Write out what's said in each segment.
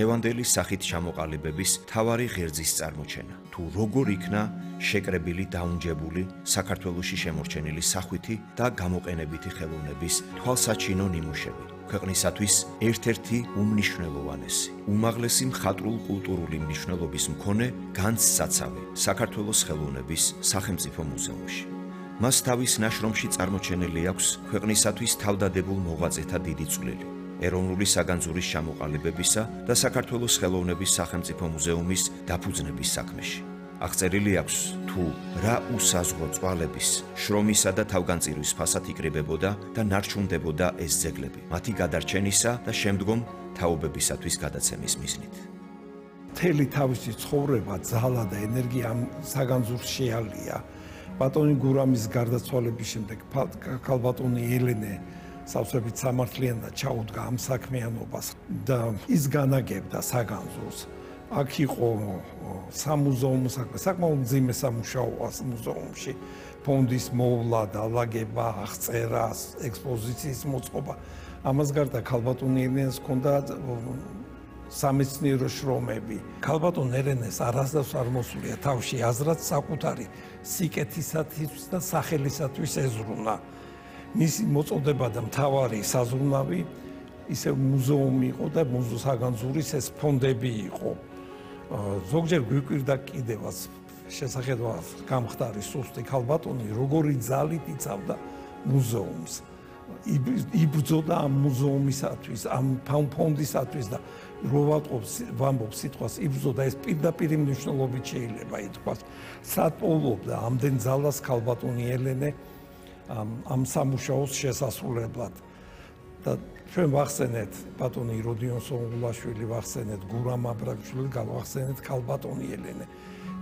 ევანდელის სახით ჩამოყალიბების თავარი ღერძის წარმოჩენა. თუ როგორ იქნა შეკრებილი დაუნჯებული საქართველოში შემორჩენილი სახვითი და გამოყენებითი ხელოვნების თვალსაჩინო ნიმუშები. ქვეყნისათვის ერთ-ერთი უმნიშვნელოვანესი, უმაღლესი მხატვრულ-კულტურული მნიშვნელობის მქონე განძსაცავი საქართველოს ხელოვნების სახელმწიფო მუზეუმში. მას თავის ნაშრომში წარმოჩენილი აქვს ქვეყნისათვის თავდადებულ მოღვაწეთა დიდი წვლილი. ეროვნული საგანძურის ჩამოყალიბებისა და საქართველოს ხელოვნების სახელმწიფო მუზეუმის დაფუძნების საქმეში. აღწერილი აქვს თუ რა უსაზღვრო წვალების, შრომისა და თავგანწირვის ფასად იკრიბებოდა და ნარჩუნდებოდა ეს ძეგლები, მათი გადარჩენისა და შემდგომ თაობებისათვის გადაცემის მიზნით. მთელი თავისი ცხოვრება, ძალა და ენერგია ამ საგანძურს შეალია. ბატონი გურამის გარდაცვალების შემდეგ ქალბატონი ელენე სავსებით სამართლიანად ჩაუდგა ამ საქმიანობას და ის განაგებდა საგანძურს. აქ იყო სამუზეუმო საქმე, საკმაოდ მძიმე სამუშაოა მუზეუმში. ფონდის მოვლა, დალაგება, აღწერა, ექსპოზიციის მოწყობა. ამას გარდა ქალბატონი ელენეს ჰქონდა სამეცნიერო შრომები. ქალბატონ ელენეს არასდროს არ მოსულია თავში აზრად საკუთარი სიკეთისათვის და სახელისათვის ეზრუნა. მისი მოწოდება და მთავარი საზრუნავი ისე მუზეუმი იყო და საგანძურის ეს ფონდები იყო. ზოგჯერ გვიკვირდა კიდევაც შესაძლოა გამხდარი სუსტი ქალბატონი როგორი ძალით იცავდა მუზეუმს. იბრძოდა ამ მუზეუმისათვის, ამ ფონდისათვის და რო ვამბობ სიტყვას იბრძოდა, ეს პირდაპირ მნიშვნელობით შეიძლება ითქვას. სატყუილობდა ამდენ ძალას ქალბატონი ელენე ამ სამუშაოს შესასრულებლად. და ჩვენ ვახსენეთ ბატონი როდიონ სონგულაშვილი, ვახსენეთ გურამ აბრაგაშვილი, გავახსენეთ ქალბატონი ელენე.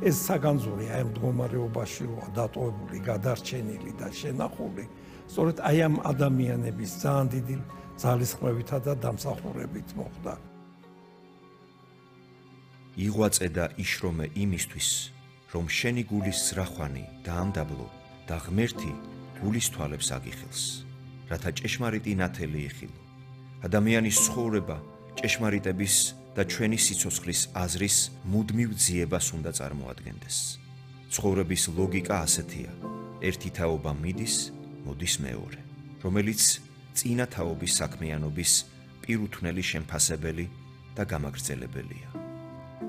ეს საგანძური აი ამ მდგომარეობაში როა დატოვებული, გადარჩენილი და შენახული, სწორედ აი ამ ადამიანების ძალიან დიდი ძალისხმევითა და დამსახურებით მოხდა. იღვაწე და იშრომე იმისთვის, რომ შენი გულის ზრახვანი დაამდაბლო და ღმერთი გულის თვალებს აგიხილს, რათა ჭეშმარიტი ნათელი იხილო. ადამიანის ცხოვრება ჭეშმარიტების და ჩვენი სიცოცხლის აზრის მუდმივ ძიებას უნდა წარმოადგენდეს. ცხოვრების ლოგიკა ასეთია: ერთი თაობა მიდის, მოდის მეორე, რომელიც წინა თაობის საქმიანობის პირუთვნელი შემფასებელი და გამაგრძელებელია.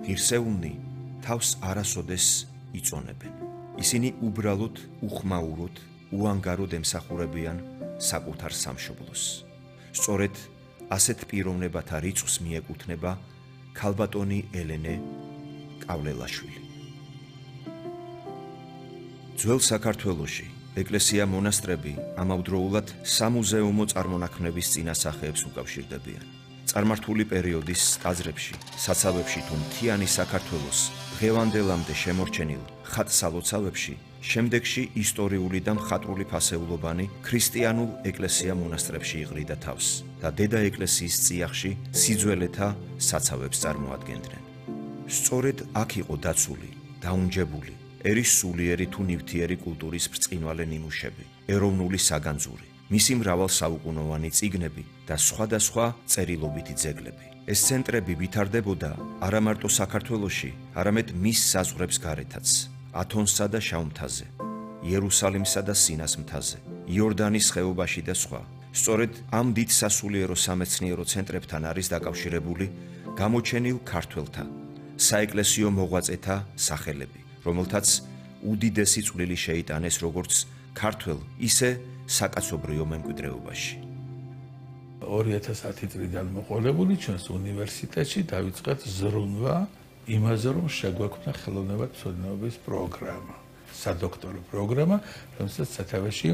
ღირსეულნი თავს არასოდეს იწონებენ. ისინი უბრალოდ უხმაუროდ, უანგაროდ ემსახურებიან საკუთარ სამშობლოს. სწორედ ასეთ პიროვნებათა რიცხვს მიეკუთვნება ქალბატონი ელენე კავლელაშვილი. ძველ საქართველოში ეკლესია-მონასტრები ამავდროულად სამუზეუმო წარმონაქმნების წინასახეებს უკავშირდებიან. წარმართული პერიოდის ტაძრებში, საცავებში თუ მთიანი საქართველოს დღევანდელამდე შემორჩენილ ხატსალოცავებში, შემდეგში ისტორიული და მხატვრული ფასეულობანი ქრისტიანულ ეკლესია-მონასტრებში იღრიდა თავს და დედა ეკლესიის წიაღში სიძველეთა საცავებს წარმოადგენდნენ. სწორედ აქ იყო დაცული, დაუნჯებული ერის სულიერი თუ ნივთიერი კულტურის ბრწყინვალე ნიმუშები, ეროვნული საგანძური, მისი მრავალსაუკუნოვანი წიგნები და სხვადასხვა წერილობითი ძეგლები. ეს ცენტრები ვითარდებოდა არა მარტო საქართველოში, არამედ მის საზღვრებს გარეთაც, ათონსა და შავმთაზე, იერუსალიმსა და სინას მთაზე, იორდანის ხეობაში და სხვა. სწორედ ამ დიდ სასულიერო სამეცნიერო ცენტრებთან არის დაკავშირებული გამოჩენილ ქართველთა, საეკლესიო მოღვაწეთა სახელები, რომელთაც უდიდესი წვლილი შეიტანეს როგორც ქართველ, ისე საკაცობრიო მემკვიდრეობაში. 2010 წლიდან მოყოლებული ჩვენს უნივერსიტეტში დავიწყეთ ზრუნვა იმაზე, რომ შეგვექმნა ხელოვნებათმცოდნეობის პროგრამა, სადოქტორო პროგრამა, რომელსაც სათავეში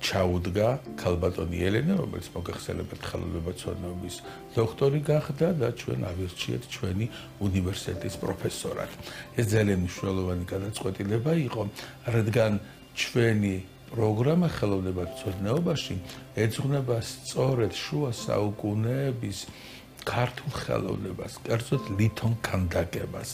ჩაუდგა ქალბატონი ელენე, რომელიც მოგეხსენებათ ხელოვნებათმცოდნეობის დოქტორი გახდა და ჩვენ ავირჩიეთ ჩვენი უნივერსიტეტის პროფესორად. ეს ძალიან მნიშვნელოვანი გადაწყვეტილება იყო, რადგან ჩვენი პროგრამა ხელოვნებათმცოდნეობაში ეძღვნება სწორედ შუა საუკუნეების ქართულ ხელოვნებას, კერძოდ ლითონ ქანდაკებას,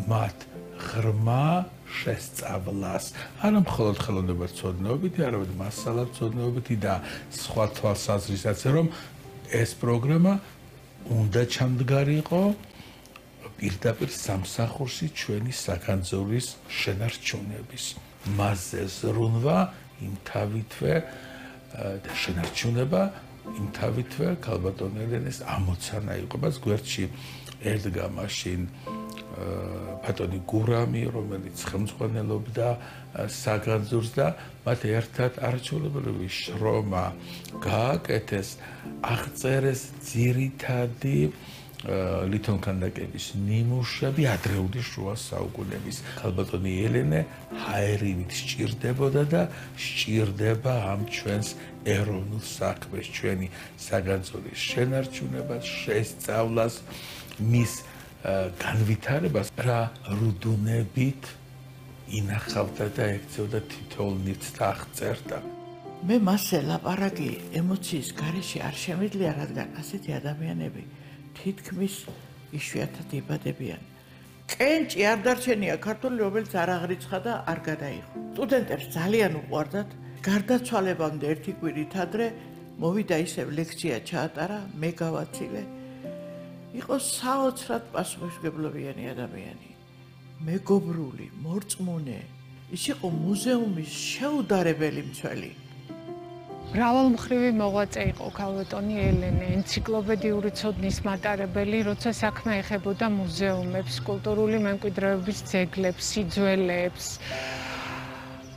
მათ ღრმა შესწავლას, არა მხოლოდ ხელოვნებათმცოდნეობითი, არამედ მასალათმცოდნეობითი და სხვა თვალსაზრისით, რომ ეს პროგრამა უნდა ჩამდგარიყო პირდაპირ სამსახურში ჩვენი საგანძურვის შენარჩუნების. მასზე ზრუნვა იმთავითვე და შენარჩუნება იმთავითვე ქალბატონ ელენეს ამოცანა იყო. მას გვერდში ედგა მაშინ ბატონი გურამი, რომელიც ხელმძღვანელობდა საგანძურს და მათ ერთად არაჩვეულებრივი შრომა გააკეთეს, აღწერეს ძირითადი ლითონქანდაკების ნიმუშები ადრეული შუა საუკუნეების. ქალბატონი ელენე ჰაერივით სჭირდებოდა და სჭირდება ამ ჩვენს ეროვნულ საქმეს, ჩვენი საგანძურის შენარჩუნებას, შესწავლას, მის განვითარებას, რა რუდუნებით ინახავდა და ეკცევდა თითოეულ ნივთს და აღწერდა. მე მასზე ლაპარაკი ემოციის გარეშე არ შემიძლია, რადგან ასეთი ადამიანები თითქმის იშვიათად იბადებიან. კენჭი არ დარჩენია ქართული, რომელიც არ აღრიცხა და არ გადაიღო. სტუდენტებს ძალიან უყვარდათ. გარდაცვალებამდე ერთი კვირით ადრე მოვიდა ისევ ლექცია ჩაატარა, მე გავაცილე. იყო საოცრად პასუხისმგებლობიანი ადამიანი. მეგობრული, მორწმუნე. ის იყო მუზეუმის შეუდარებელი მცველი. მრავალმხრივი მოღვაწე იყო ქალბატონი ელენე, ენციკლოპედიური ცოდნის მატარებელი, როცა საქმე ეხებოდა მუზეუმებს, კულტურული მემკვიდრეობის ძეგლებს, სიძველეებს.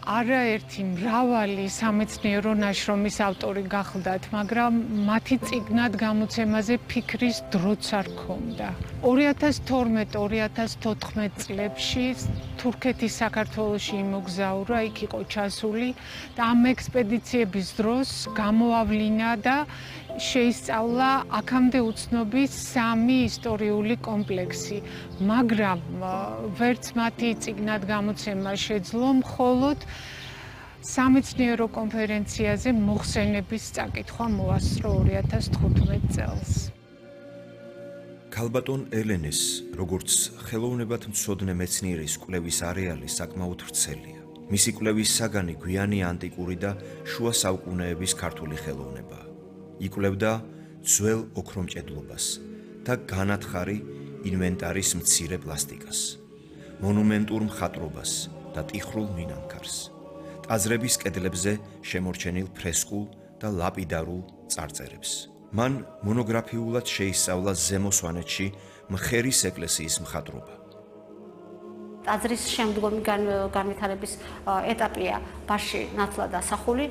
არაერთი მრავალი სამეცნიერო ნაშრომის ავტორი გახლდათ, მაგრამ მათი წიგნად გამოცემაზე ფიქრის დროც არ ჰქონდა. 2012-2014 წლებში თურქეთის საქართველოში იმოგზაურა, იქ იყო ჩასული და ამ ექსპედიციების დროს გამოავლინა და შეისწავლა აქამდე უცნობი 3 ისტორიული კომპლექსი, მაგრამ ვერც მათი წიგნად გამოცემა შეძლო, მხოლოდ სამეცნიერო კონფერენციაზე მოხსენების წაკითხვა მოასწრო 2015 წელს. ქალბატონ ელენეს, როგორც ხელოვნებად მცოდნე მეცნიერის კვლევის არეალი საკმაოდ ვრცელია. მისი კვლევის საგანი გვიანი ანტიკური და შუა საუკუნეების ქართული ხელოვნებაა. იკვლევდა ძველ ოქრომჭედლობას და განათხარი ინვენტარის მცირე პლასტიკას, მონუმენტურ მხატვრობას და ტიხრულ მინანქარს, ტაძრების კედლებზე შემორჩენილ ფრესკულ და ლაპიდარულ წარწერებს. მან მონოგრაფიულად შეისწავლა ზემო სვანეთში მხერის ეკლესიის მხატვრობა. ტაძრის შემდგომი განვითარების ეტაპია ბარში ნათლად ასახული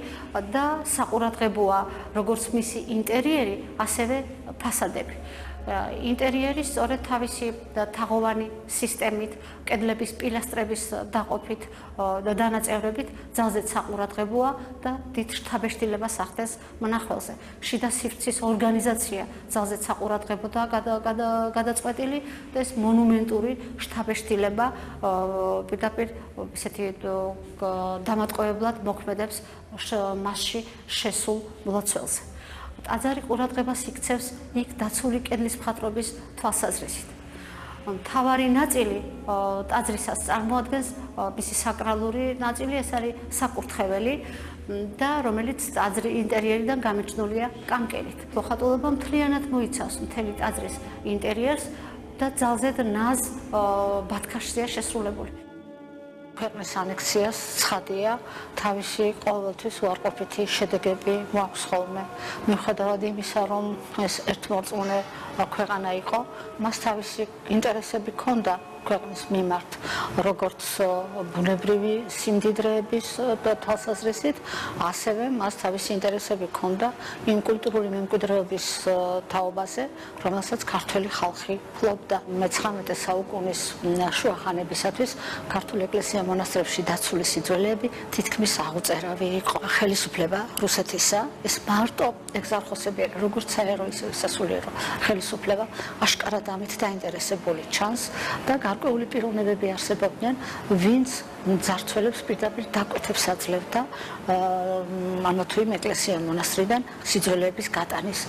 და საყურადღებოა როგორც მისი ინტერიერი, ასევე ფასადები. ინტერიერი სწორედ თავისი თაღოვანი სისტემით, კედლების პილასტრების დაყოფით და დანაწევრებით ძალზედ საყურადღებოა და დიდ შთაბეჭდილებას ახდენს მონახველზე. შიდა სივრცის ორგანიზაცია ძალზედ საყურადღებოდაა გადაწყვეტილი და ეს მონუმენტური შთაბეჭდილება პირდაპირ ესეთი დამატყუებლად მოქმედებს მასში შესულ მლოცველზე. ტაძარი ყურადღებას იქცევს იქ დაცული კედლის მხატვრობის თვალსაზრისით. მთავარი ნაწილი ტაძრისას წარმოადგენს მისი საკრალური ნაწილი, ეს არის საკურთხეველი და რომელიც ტაძრის ინტერიერიდან გამიჩნულია კანკელით. მოხატულობა მთლიანად მოიცავს მთელი ტაძრის ინტერიერს და ძალზედ ნაზ ბათქაშია შესრულებული. ქვეყნის ანექსიას ცხადია, თავისი ყოველთვის უარყოფითი შედეგები მოაქვს ხოლმე. მიუხედავად იმისა, რომ ეს ერთმორწმუნე ქვეყანა იყო, მას თავისი ინტერესები ჰქონდა ქვეყნის მიმართ, როგორც ბუნებრივი სიმდიდრეების თვალსაზრისით, ასევე მას თავისი ინტერესები ჰქონდა იმ კულტურული მემკვიდრეობის თაობაზე, რომელსაც ქართველი ხალხი ფლობდა. მე-19 საუკუნის შუა ხანებისათვის ქართული ეკლესია მონასტრებში დაცული სიძველეები თითქმის აღუწერავი იყო. ხელისუფლება რუსეთისა, ეს მარტო ეგზარხოსები, როგორც საერო, ისე სასულიერო ხელისუფლება აშკარად ამით დაინტერესებული ჩანს და გარკვეული პიროვნებები არსებობდნენ, ვინც ძარცველებს პირდაპირ დაკვეთებს აძლევდა ამა თუ იმ ეკლესია მონასტრიდან სიძველეების გატანის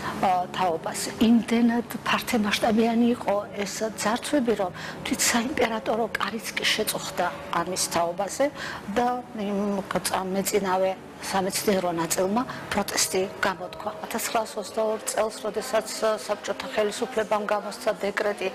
თაობას. იმდენად ფართემასშტაბიანი იყო ეს ძარცვები, რომ თვით საიმპერატორო კარიც კი შეწუხდა ამის თაობაზე და მეწინავე სამეცნიერო ნაწილმა პროტესტი გამოთქვა. 1922 წელს, როდესაც საბჭოთა ხელისუფლებამ გამოსცა დეკრეტი